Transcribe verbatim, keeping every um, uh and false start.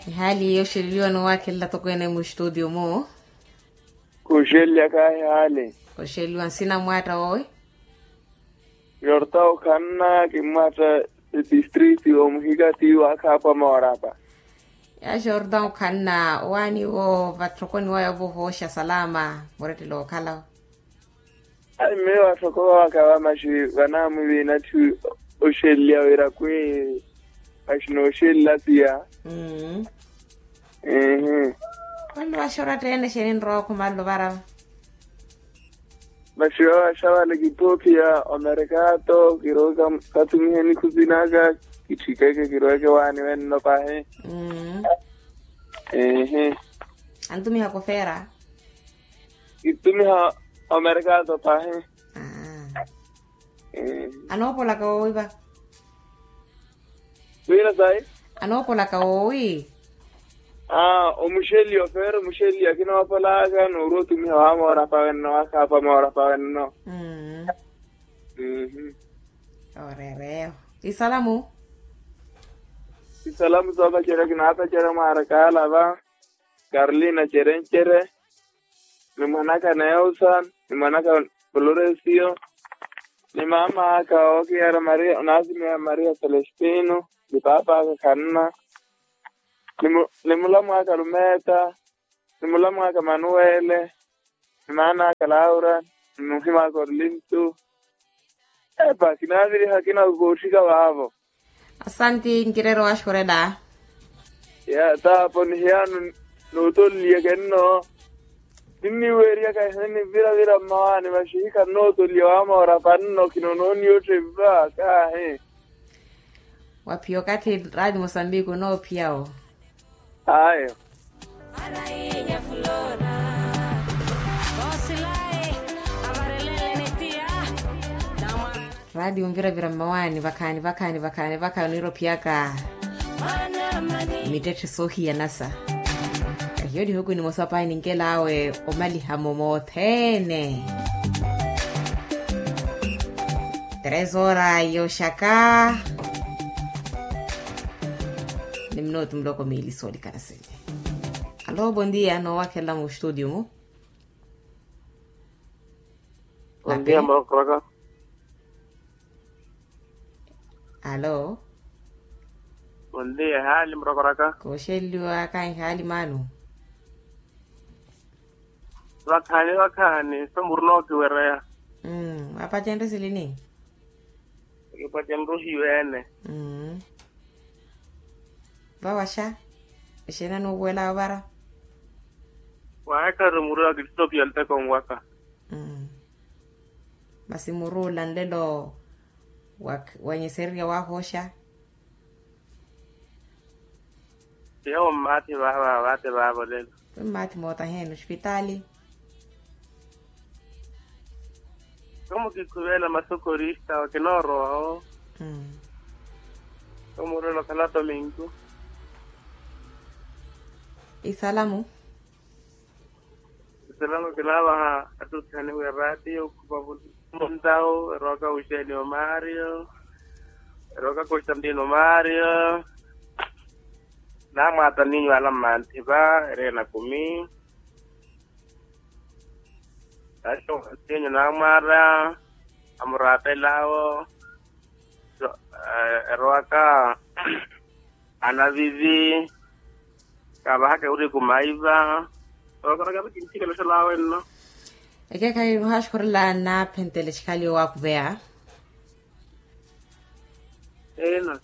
Ehaali yooxeleliwa noowakhelela toko ene muxtutio mu. Kuxeleliwa kahi haali. Kuxeleliwa nsina mwaatta woowi. Yorta okhanna kimmwaatta. Etistriti omuhikati waakhaapa moorapa. Yaaxorta okhanna owaani wo vatthokoni waya ovohooxa salama. Murettelo okhala. Ai mmeyo atthoko waka vamaxi vanamwiviina tthi. Oxeleliwa wira kwi. Maxi nooxelela siya. Ehe. Vanno vaxi oratta ene xeeni nrowa okhumalelo varava. Vaxiwa vaxavale kipopia omerekato kiroka. Katumihe nikhuzinaka. Kitthikeke kiroke waani wenno pahi. Ehe. Antumiha kofera. Kitumiha omerekato pahi. Anoopolaka woowi va? Wira sayi. Anoopolaka woowi? Aa omuxeliya ofeera omuxeliya kinoopolaka noori otumiha wa moorapa wenno wakhaapa moorapa wenno. Oreereyo. Isalamu. Isalamu soopacerya kinaapacerya mwaarakaala va. Karolina cerencere. Ni mwanaka neosa. Ni mwanaka floresio. Ni maama aka ookiyara maria onaasimeya maria celestino. Ni paapa aka khanna. Ni mulamu aka lumeta. Ni mulamu aka manuwele. Ni maana aka laura. Ni muhima aka orlintu. Epa kinaaviriha kinakootthika vaavo. Asanti nkireera owaxukurela. Ya taapo ni hiyano. Nootoleliya kenno. Ninniweeriyaka ehene nivira-vira mmawaani maxi hikhannootoliya wamoora panno khinonooniya otthempa kaahi. Waphiya okathi raati mosambiki onoophiya'wo. Ayo. Raati onvira-vira mmawaani vakhaani vakhaani vakhaani vakhaani oniira ophiyaka. Mittetthe soohiyanasa. Kahiyo nihuku nimosa pahi ninkel'awe omaliha-mo mothene. Tres hora yoxaka. Ni minutu muloko miili soolikana sene. Alo bondia noowakhelela muxtutio mu. Bondia murokoraka. Alo. Bondia ehaali murokoraka. Kooxeliwa kahi ehaali maanu. Vakhaani vakhaani so muru nookiwereya. Mmm wapacenrye silini. Kipacenrye ohiweene. Mmm. Vawaxa. Exeeni anuupuwela ovara. Waahekari muru akittopiya nteko nwaka. Mmm. Masi muru ola nlelo. Wanyesererya waahooxa. Tiya wo mmaathi vaava vaate vaava olelo. Wi mmaathi mootaheeni ospitaali. Komu kikhuvela masokorista wa kinoorowa wo. Komu orela okhala tominku. Isalamu. Isalamo kinaavaha attuthani wi eraatiyo okhupa vuntawu erowaka wuxeeni omaariyo. Erowaka konstantino omaariyo. Namwaata ninyu ala mmanthi va ereena kumi. Taxo sinyu namwaara amuraapelaawo. Erowaka anavivi. Kaavahaka ewuriku maiva. Okoraka vi kintthikela oxalaawe nno. Ekeekhayi muhaxukhurela naaphentele xikhaliyo waakuveya. Eina.